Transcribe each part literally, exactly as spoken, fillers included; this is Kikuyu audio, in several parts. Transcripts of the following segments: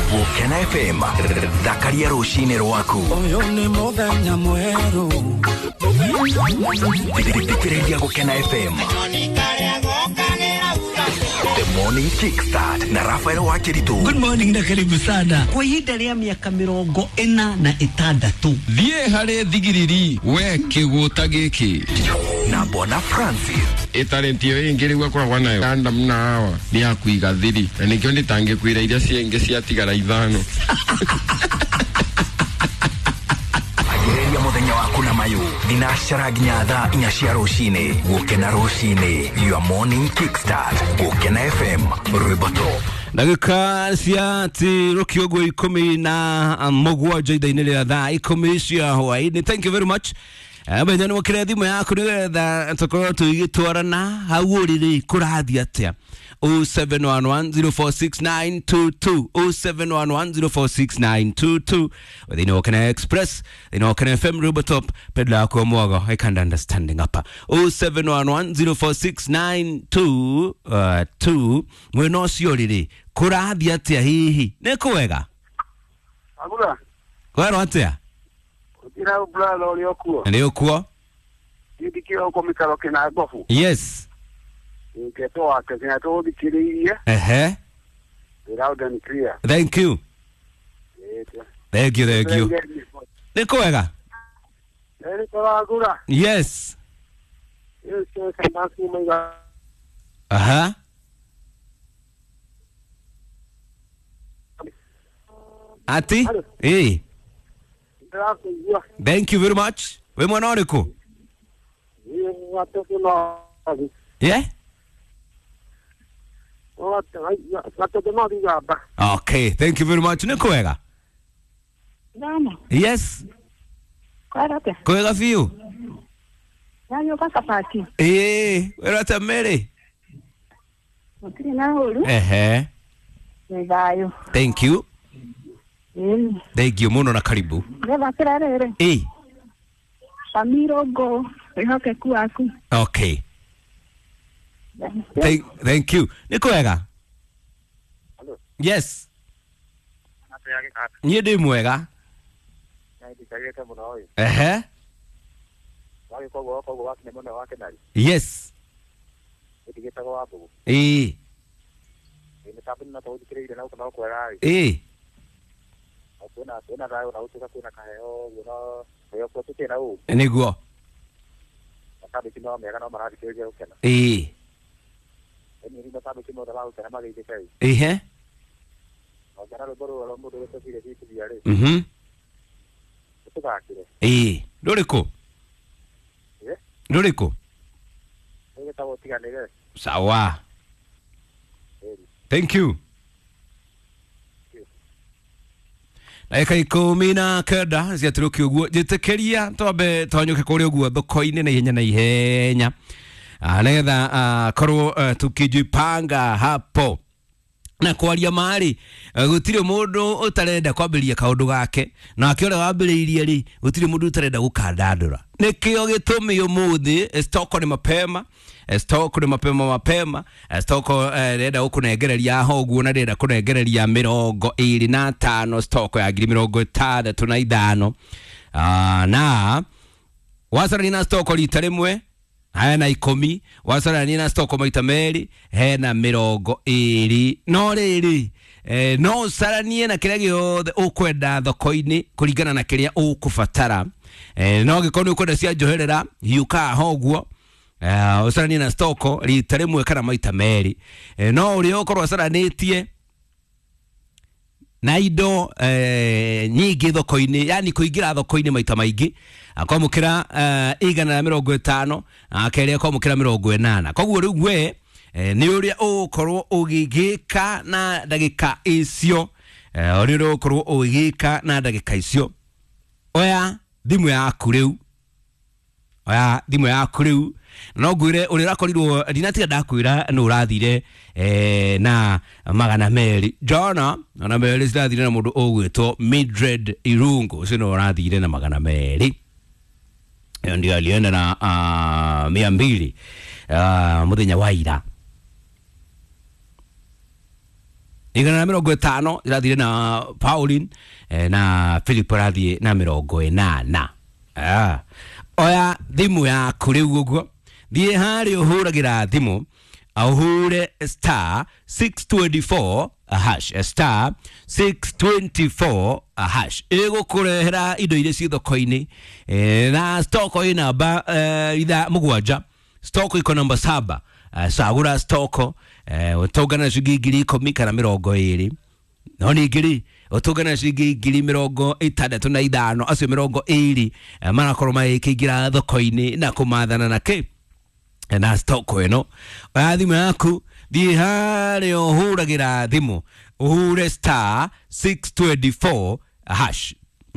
Gũkena F M thakaria rũcinĩ rwaku. Ũyũ nĩ mũthenya mwerũ. Thikĩrĩria Gũkena F M. The Morning Kickstart na Rafael Wakiritu. Good morning na karibu sana. Kwa ihinda rĩa mĩaka mĩrongo ĩna na ĩtandatũ. Thiĩ harĩ thigiriri we kĩgũta gĩkĩ. Na Bwana Francis. Ĩtarĩti ĩyo ĩngĩ rĩu akoragwo nayo Adamu na Hawa nĩ ya kũiga thiri na nĩkĩo ndĩtangĩkwĩra iria ciengĩ ciatigara ithano. Ambĩrĩria mũthenya waku na mayũ thinacara nginya thaa inya cia rũcinĩ. Gũkena rũcinĩ, your morning kickstart. Gũkena F M, rwĩmbo top. Ndagĩka cia tirũkio ũguo ikũmi na mũgwanja ithaa-inĩ rĩa thaa ikũmi cia hwaĩ-inĩ. Thank you very much. Menya nĩ wokĩre thimũ yaku nĩgetha tũkorwo tũgĩtwarana hau ũrĩ kũrathiĩ atĩa. oh seven one one zero four six nine two two oh seven one one zero four six nine two two. Thĩinĩ wa Kena Express, thĩinĩ wa Kena F M, Rwĩmbo Top, pedla yako mwago, I can't understanding hapa. oh seven one one zero four six nine two two. Mwena ũcio rĩrĩ kũrathiĩ atĩa hihi? Nĩ kwega? Agura. Kwero atĩa? Ira brother ũrĩa ũkuo. Nĩ ũkuo? Ndikira uko mikaro kina gofu. Yes. Ngeto wake kina tũthikĩrĩirie. Ehe. Loud and clear. Thank you. Thank you, thank you. Nĩ kwega? Nĩ tũragura. Yes. Aha. Ati? Eh. Thank you very much. We mwana ũrĩkũ? Yeah? Okay, thank you very much. Nĩ kwega? Yes. Kwega biũ. Ĩĩ, wĩra atĩa Mary? Ehe. Thank you. Thank you mũno na karibu. Ĩĩ. Okay. Thank, thank you. Nĩ kwega? Yes. Niĩ ndĩ mwega. Ehe. Yes. Ĩĩ. Ĩĩ. Nĩguo. Ĩĩ. Ehe. Mhm. Ĩĩ, rũrĩkũ? Rũrĩkũ? Sawa. Thank you. Ndagĩka ikũmi na kenda ciatũrũkio ũguo njĩtĩkĩria twambe twanyũke kũrĩa ũguo thoko-inĩ na ihenya na ihenya nĩgetha korwo tukijipanga hapo na kwaria marĩ gũtirĩ mũndũ ũtarenda kwambĩrĩria kaũndũ gake nake ũrĩa wambĩrĩirie rĩ gũtirĩ mũndũ ũtarenda gũkandandũra. Nĩkĩo gĩtũmi ũmũthĩ stoko nĩ mapema, stoko nĩ mapema mapema, stoko ndĩrenda gũkũnengereria ho ũguo na ndĩrenda kũnengereria mĩrongo ĩrĩ na tano stoko ya ngiri mĩrongo ĩtandatũ na ithano na wacarania na stoko rita rĩmwe hena ikũmi, wacarania na stoko maita merĩ hena mĩrongo ĩrĩ. No rĩrĩ eh, no ũcaranie na kĩrĩa gĩothe ũkwenda thoko-inĩ kũringana na kĩrĩa ũkũbatara. Eh, no angĩkorwo nĩ ũkwenda cia njoherera hiũka ho ũguo eh, ũcaranie na stoko rita rĩmwe kana maita merĩ. Eh, no ũrĩa ũkorwo ũcaranĩtie na indo eh, nyingĩ thoko-inĩ, yani kũingĩra thoko-inĩ maita maingĩ akwamũkĩra eh, igana rĩa mĩrongo ĩtano akerĩ akwamũkĩra mĩrongo ĩnana. Koguo rĩu we eh, nĩ ũrĩa ũgũkorwo ũgĩgĩka na ndagĩka icio eh, ũrĩa ũgũkorwo ũgĩgĩka na ndagĩka icio. Oya thimũ yaku rĩu, oya thimũ yaku rĩu no ngwĩre ũrĩa ũrakorirwo ndinatiga ndakwĩra nĩ ũrathire eh, na magana merĩ jana magana merĩ cirathire na mũndũ ũgwĩtwo Mildred Irungu ũcio nĩ ũrathire na magana merĩ. Hiyo ndio alienda na uh, mia mbili uh, mũthenya wa ira. Igana na mĩrongo ĩtano irathire na Pauline, eh, na Philip arathiĩ na mĩrongo ĩnana. Ah. Oya thimũ yaku rĩu ũguo, thiĩ harĩa ũhũragĩra thimũ, ũhũre star six twenty-four hash, star six twenty-four hash, ĩgũkũrehera indo iria ciĩ thoko-inĩ, eh, na stock ĩ namba eh, itha mũgwanja, stock iko namba saba. Uh, cagũra stock, eh, ũtũngana na ciringi ngiri ikũmi kana mĩrongo ĩrĩ, no ningĩ rĩ ũtũngana na ciringi ngiri mĩrongo ĩtandatũ na ithano, acio mĩrongo ĩrĩ eh, marakorwo magĩkĩingĩra thoko-inĩ na kũmathana na kĩ na stock ĩno. Oya thimũ yaku, thiĩ harĩa ũhũragĩra thimũ, ũhure star six twenty-four hash,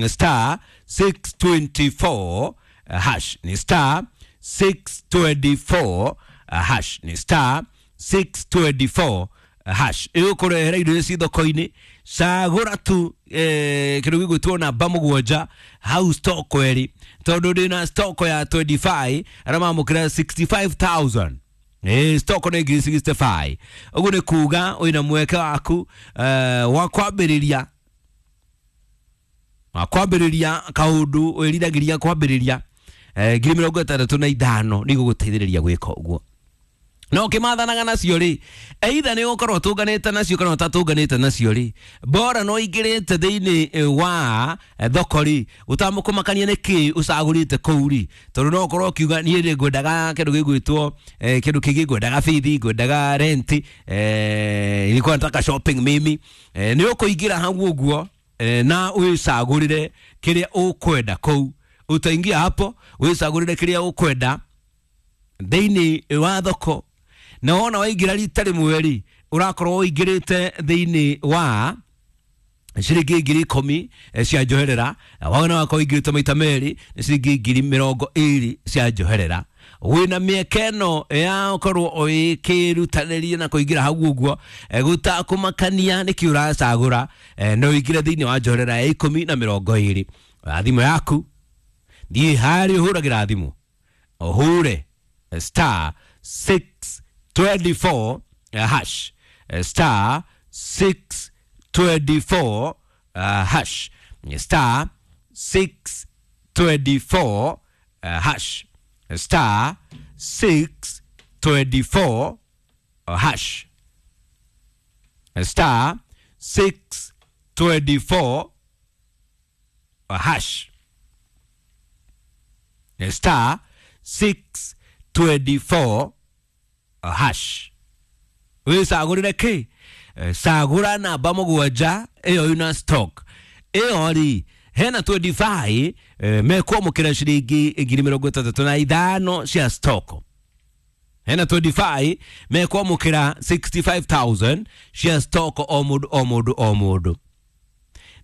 star six twenty-four hash, ni star six twenty-four hash, ni star six twenty-four hash, ĩgũkũrehera indo iria ciĩ thoko-inĩ. Cagũra tu eh, kĩndũ gĩgwĩtwo namba mũgwanja hau stock ĩrĩ, tondũ ndĩna stock ya twenty-five arĩa mamũkĩra sixty-five thousand. Eh, stock nĩ ngiri sixty-five. Ũguo nĩ kuga wĩna mweke waku eh, wa kwambĩrĩria wa kwambĩrĩria kaũndũ wĩriragĩria kwambĩrĩria, eh, ngiri mĩrongo ĩtandatũ na ithano nĩ igũgũteithĩrĩria gwĩka ũguo. No ũkĩmathanaga nacio rĩ, either nĩ ũgũkorwo ũtũnganĩte nacio kana ũtatũnganĩte nacio rĩ, bora no ingĩrĩte thĩinĩ wa thoko rĩ, ũtamũkũmakania nĩ kĩ ũcagũrĩte kũu rĩ, tondũ no ũkorwo ũkiuga niĩ rĩ ngwendaga kĩndũ gĩgwĩtwo eh, kĩndũ kĩngĩ, ngwendaga bithi, ngwendaga rent, eh, nilikuwa nataka shopping mimi, eh, nĩ ũkũingĩra hau ũguo eh, na wĩcagũrĩre kĩrĩa ũkwenda kũu. Utaingia hapo wĩcagũrĩre kĩrĩa ũkwenda thĩinĩ wa thoko, na wona waingĩra rita rĩmwe rĩ, ũrakorwo ũingĩrĩte thĩinĩ wa ciringi ngiri ikũmi cia njoherera, wona wakorwo ũingĩrĩte maita merĩ nĩ ciringi ngiri mĩrongo ĩrĩ cia njoherera. Wĩna mĩeke ĩno ya ũkorwo ũgĩkĩrutanĩria na kũingĩra hau ũguo, gũtakũmakania nĩkĩ ũracagũra, no ũingĩre thĩinĩ wa njoherera ya ikũmi na mĩrongo ĩrĩ. Oya thimũ yaku, thiĩ harĩa ũhũragĩra thimũ, ũhũre star six twenty-four hash, star six twenty-four hash, star six twenty-four hash, star six twenty-four hash, star six twenty-four hash, star six twenty-four hash. Wĩcagũrĩre kĩ? Cagũra namba mũgwanja ĩyo ĩna stock ĩyo rĩ, hena twenty-five mekwamũkĩra ciringi ngiri mĩrongo ĩtandatũ na ithano cia stock, hena twenty-five mekwamũkĩra sixty-five thousand cia stock o mũndũ o mũndũ o mũndũ.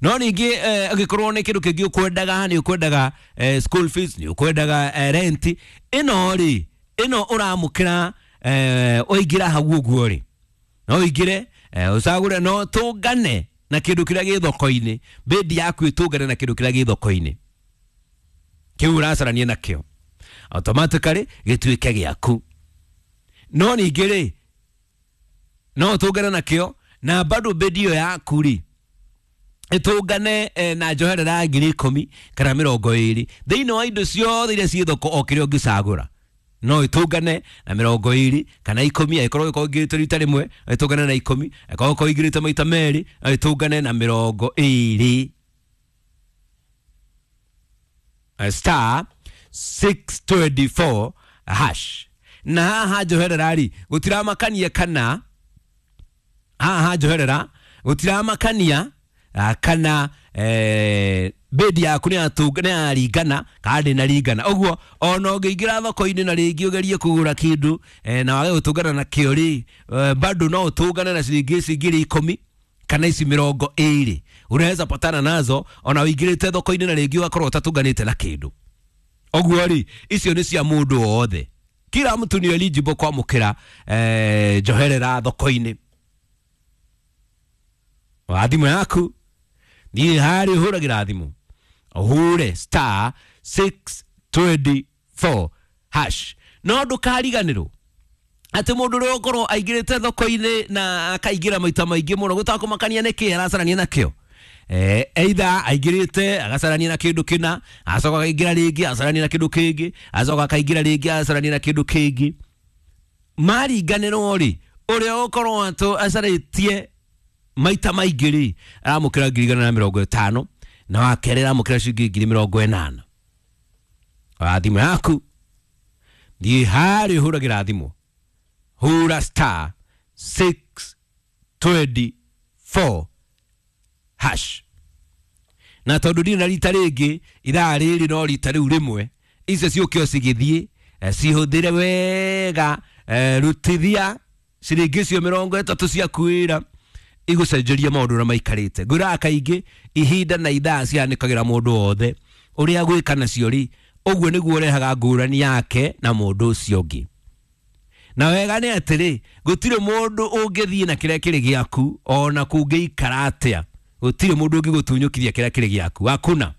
No ningĩ angĩkorwo nĩ kĩndũ kĩngĩ ũkwendaga, nĩ ũkwendaga school fees, nĩ ũkwendaga rent, ĩno rĩ, ĩno ũramũkĩra ũingĩra hau ũguo rĩ, no ũingĩre ũcagũre, no tũngane na kĩndũ kĩrĩa gĩ thoko-inĩ, bidi yaku ĩtũngane na kĩndũ kĩrĩa gĩ thoko-inĩ kĩu ũracarania nakĩo, automatically gĩtuĩke gĩaku. No ningĩ rĩ, no ũtũngane nakĩo na bado bidi ĩyo yaku rĩ ĩtũngane na njoherera ya ngiri ikũmi kana mĩrongo ĩrĩ thĩinĩ wa indo ciothe iria ciĩ thoko o kĩrĩa ũngĩcagũra, no ĩtũngane na mĩrongo ĩrĩ kana ikũmi, angĩkorwo ũgĩkorwo ũingĩrĩte rita rĩmwe ĩtũngane na ikũmi, angĩkorwo ũgĩkorwo ũingĩrĩte maita merĩ ĩtũngane na mĩrongo ĩrĩ. Star six twenty-four hash. Na haha njoherera rĩ, gũtiramakania kana haha njoherera gũtiramakania kana eh, bidi yaku nĩ yaringana kana ndĩnaringana. Ũguo ona ũngĩingĩra thoko-inĩ na rĩngĩ ũgerie kũgũra kĩndũ na wage gũtũngana nakĩo rĩ, bado no ũtũngane na ciringi ici ngiri ikũmi kana ici mĩrongo ĩrĩ unaweza patana nazo ona ũingĩrĩte thoko-inĩ na rĩngĩ ũgakorwo ũtatũnganĩte na kĩndũ. Ũguo rĩ, icio nĩ cia mũndũ wothe, kila mtu ni eligible kwamũkĩra eh, njoherera thoko-inĩ. Wa thimũ yaku, niĩ harĩ ũhũragĩra thimũ, ũhũre star six twenty-four hash. No ndũkariganĩrwo Atĩ mũndũ ũrĩa ũkorwo aingĩrĩte thoko-inĩ na akaingĩra maita maingĩ mũno gũtakũmakania nĩkĩ aracarania nakĩo. Eh, either aingĩrĩte agacarania na kĩndũ kĩna, acoka akaingĩra rĩngĩ acarania na kĩndũ kĩngĩ, acoka akaingĩra rĩngĩ acarania na kĩndũ kĩngĩ. Maringanĩrwo rĩ, ũrĩa ũkorwo atũ acarĩtie maita maingĩ rĩ, aramũkĩra ngiri igana na mĩrongo ĩtano, na wa kerĩ aramũkĩra ciringi ngiri mĩrongo ĩnana. Oya thimũ yaku, thiĩ harĩa ũhũragĩra thimũ, hũra star six twenty four hash. Na tondũ ndirĩ na rita rĩngĩ, ithaa rĩrĩ no rita rĩu rĩmwe, icio ciũke o cigĩthiĩ, eh, cihũthĩre wega, eh, rutithia ciringi icio mĩrongo ĩtatũ ciaku wĩra igũcenjeria maũndũ ũrĩa maikarĩte. Ngwĩraga kaingĩ ihinda na ithaa cianĩkagĩra mũndũ wothe ũrĩa agwĩka nacio rĩ, ũguo nĩguo ũrehaga ngũrani yake na mũndũ ũcio ũngĩ. Na wega nĩ atĩrĩ, gũtirĩ mũndũ ũngĩthiĩ na kĩrĩa kĩrĩ gĩaku ona kũngĩikara atĩa, gũtirĩ mũndũ ũngĩgũtunyũkithia kĩrĩa kĩrĩ gĩaku, hakuna.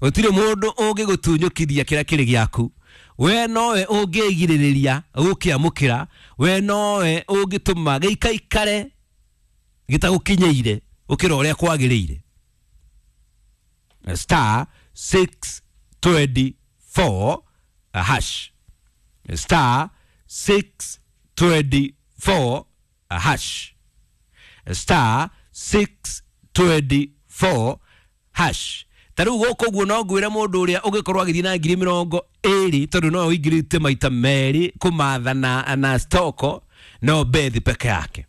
Gũtirĩ mũndũ ũngĩgũtunyũkithia kĩrĩa kĩrĩ gĩaku. We nowe ũngĩgirĩrĩria gũkĩamũkĩra, we nowe ũngĩtũma gĩikaikare gĩtagũkinyĩire gũkĩra ũrĩa kwagĩrĩire. Star six twenty four hash. Star six twenty four hash. Star six twenty four hash. Ta rĩu gũkũ ũguo no ngwĩre mũndũ ũrĩa ũngĩkorwo agĩthiĩ na ngiri mĩrongo ĩrĩ tondũ no ũingĩrĩte maita merĩ kũmatha na, na stoko, no Beth peke yake.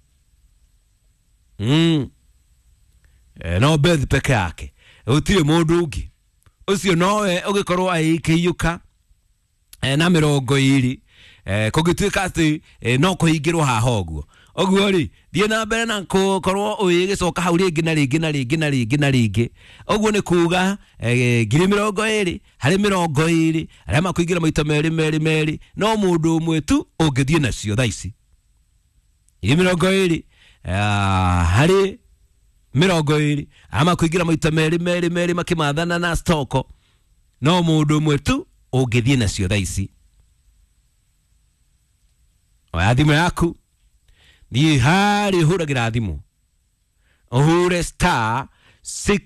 Mm. E, no Beth peke yake, gũtirĩ mũndũ ũngĩ. Ũcio nowe ũgĩkorwo agĩkĩiyũka na mĩrongo ĩrĩ, eh, kũngĩtuĩka atĩ eh, no kũhingĩrwo haha ũguo. Ũguo rĩ, thiĩ na mbere na gũkorwo ũgĩcoka hau rĩngĩ na rĩngĩ na rĩngĩ na rĩngĩ na rĩngĩ. Ũguo nĩ kuga eh, ngiri mĩrongo ĩrĩ harĩ mĩrongo ĩrĩ arĩa makũingĩra maita merĩ merĩ merĩ, no mũndũ ũmwe tu ũngĩthiĩ nacio thaa ici. Ngiri mĩrongo ĩrĩ harĩ mĩrongo ĩrĩ arĩa makũingĩra maita merĩ merĩ merĩ makĩmathana na stoko, no mũndũ ũmwe tu ũngĩthiĩ nacio thaa ici. Oya thimũ yaku, thiĩ harĩa ũhũragĩra thimũ, ũhũre star six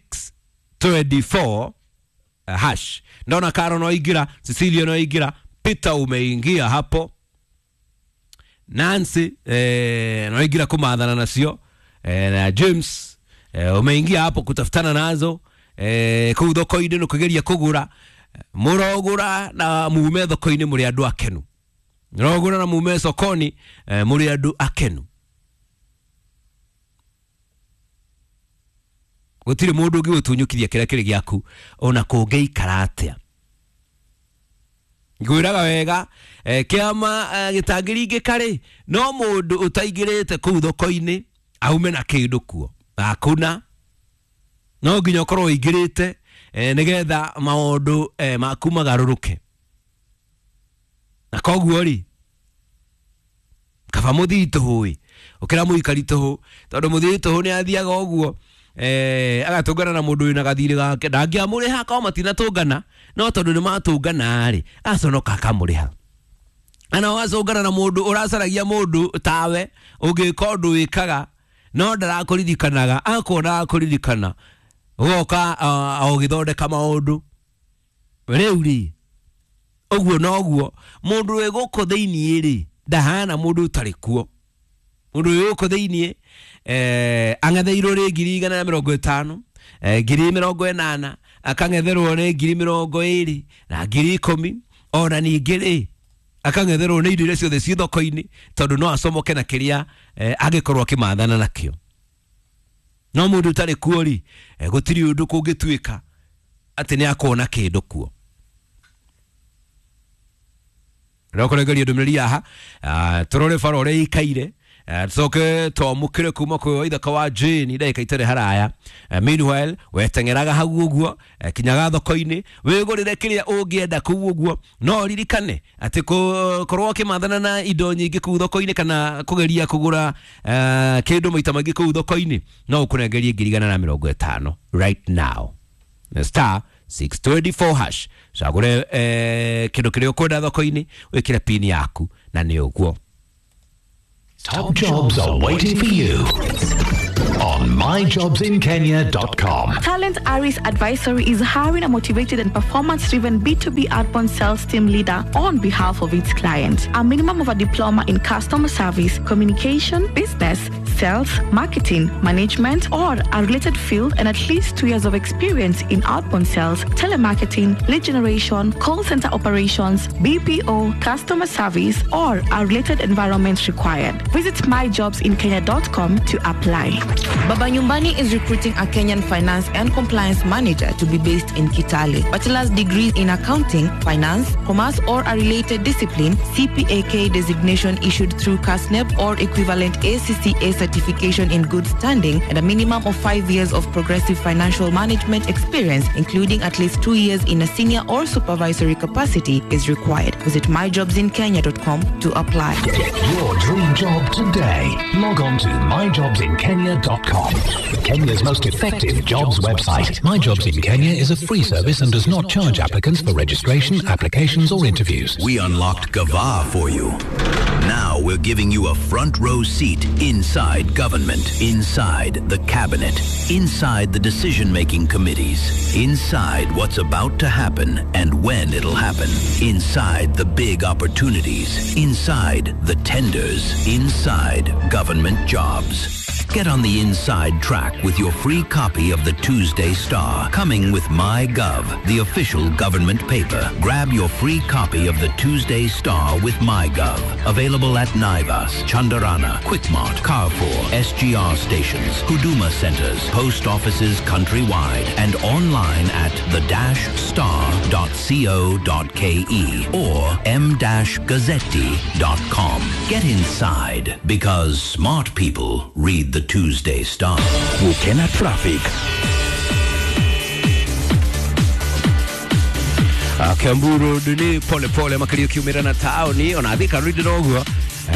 twenty four hash. Ndona Karo no ingĩra, Cecilia no ingĩra, Peter umeingia hapo, Nancy eh, no ingĩra kũmathana nacio, eh, na James eh, umeingia hapo kutafutana nazo, eh, kũu thoko-inĩ nĩ kũgeria kũgũra. Mũrogũra na mume thoko-inĩ mũrĩ andũ akenu. Mũrogũra na mume sokoni, eh, mũrĩ andũ akenu. Gũtirĩ mũndũ ũngĩgũtunyũkithia kĩrĩa kĩrĩ gĩaku ona kũngĩikara atĩa. Ngwĩraga wega, eh, kĩama eh, gĩtangĩringĩka rĩ, no mũndũ ũtaingĩrĩte kũu thoko-inĩ aume na kĩndũ kuo, hakuna. No nginya ũkorwo ũingĩrĩte eh, nĩgetha maũndũ eh, maku magarũrũke. Na koguo rĩ, kaba mũthii tũhũ ĩ, ũkĩra mũikari tũhũ, tondũ mũthii tũhũ nĩ athiaga ũguo eh, agatũngana na mũndũ wĩna gathirĩ gake, ndangĩamũrĩha korwo matinatũngana, no tondũ nĩ matũngana rĩ, aconoka akamũrĩha. Ana wacũngana na mũndũ ũracaragia mũndũ tawe ũngĩka ũndũ wĩkaga no ndarakũririkanaga, akuona akũririkana, ũgoka ũgĩthondeka maũndũ. Rĩu rĩ, ũguo noguo mũndũ wĩ gũkũ thĩiniĩ rĩ, ndahana mũndũ ũtarĩ kuo. Mũndũ wĩ gũkũ thĩiniĩ eh, ang'etheirwo rĩ ngiri igana na mĩrongo ĩtano, eh, ngiri mĩrongo ĩnana, akang'etherwo nĩ ngiri mĩrongo ĩrĩ na ngiri ikũmi, ona ningĩ rĩ akang'etherwo nĩ indo iria ciothe ciĩ thoko-inĩ, tondũ no acomoke na kĩrĩa eh, angĩkorwo akĩmathana nakĩo. No mũndũ ũtarĩ kuo rĩ, eh, gũtirĩ ũndũ kũngĩtuĩka atĩ nĩ akuona kĩndũ kuo. Rĩo ndũmĩrĩri haha, tũrore bara ũrĩa ĩikaire, tucoke twamũkĩre kuma kwĩ ithaka wa Jane ndagĩka itarĩ haraya. Meanwhile weteng'eraga hau ũguo, kinyaga thoko-inĩ wĩgũrĩre kĩrĩa ũngĩenda kũu ũguo, no ririkane atĩ korwo ũkĩmathana na indo nyingĩ kũu thoko-inĩ kana kũgeria kũgũra kĩndũ maita maingĩ kũu thoko-inĩ, no ũkũnengerie ngiri igana na mĩrongo ĩtano right now. Star six twenty-four hash cagũre eh, kĩndũ kĩrĩa ũkwenda thoko-inĩ wĩkĩre pin yaku na nĩ ũguo. Top jobs are waiting for you on my jobs in kenya dot com. Talent Aris Advisory is hiring a motivated and performance-driven B two B outbound sales team leader on behalf of its clients. A minimum of a diploma in customer service, communication, business, sales, marketing, management, or a related field, and at least two years of experience in outbound sales, telemarketing, lead generation, call center operations, B P O, customer service, or a related environment required. Visit my jobs in kenya dot com to apply. Baba Nyumbani is recruiting a Kenyan finance and compliance manager to be based in Kitale. Bachelor's degree in accounting, finance, commerce, or a related discipline, C P A K designation issued through KASNEB or equivalent A C C A certification in good standing, and a minimum of five years of progressive financial management experience, including at least two years in a senior or supervisory capacity, is required. Visit my jobs in kenya dot com to apply. Get your dream job today. Log on to my jobs in kenya dot com. Kenya's most effective jobs website. My Jobs in Kenya is a free service and does not charge applicants for registration, applications or interviews. We unlocked Gava for you. Now we're giving you a front row seat inside government, inside the cabinet, inside the decision-making committees, inside what's about to happen and when it'll happen, inside the big opportunities, inside the tenders, inside government jobs. Get on the inside track with your free copy of the Tuesday Star, coming with MyGov, the official government paper. Grab your free copy of the Tuesday Star with MyGov. Available at Naivas, Chandarana, Quickmart, Carrefour, S G R stations, Huduma centers, post offices countrywide, and online at the dash star dot co dot ke or m dash gazzetti dot com. Get inside, because smart people read the Tuesday Star. Gukena traffic. Kiambu Road ni pole pole makirio kiumira na taoni ona Thika Road noguo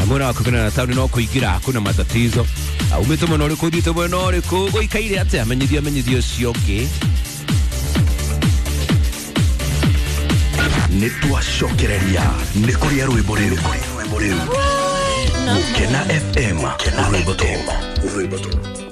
mwena wa kumira na taoni no kuingira hakuna matatizo. Umite mwena uriku uthiite mwena uriku guikaire atia menyithia menyithia ucio ungi. Nĩ twacokereria nĩ kũrĩa rwĩmbo rĩu Gukena F M rwĩmbo tu rwĩmbo tu.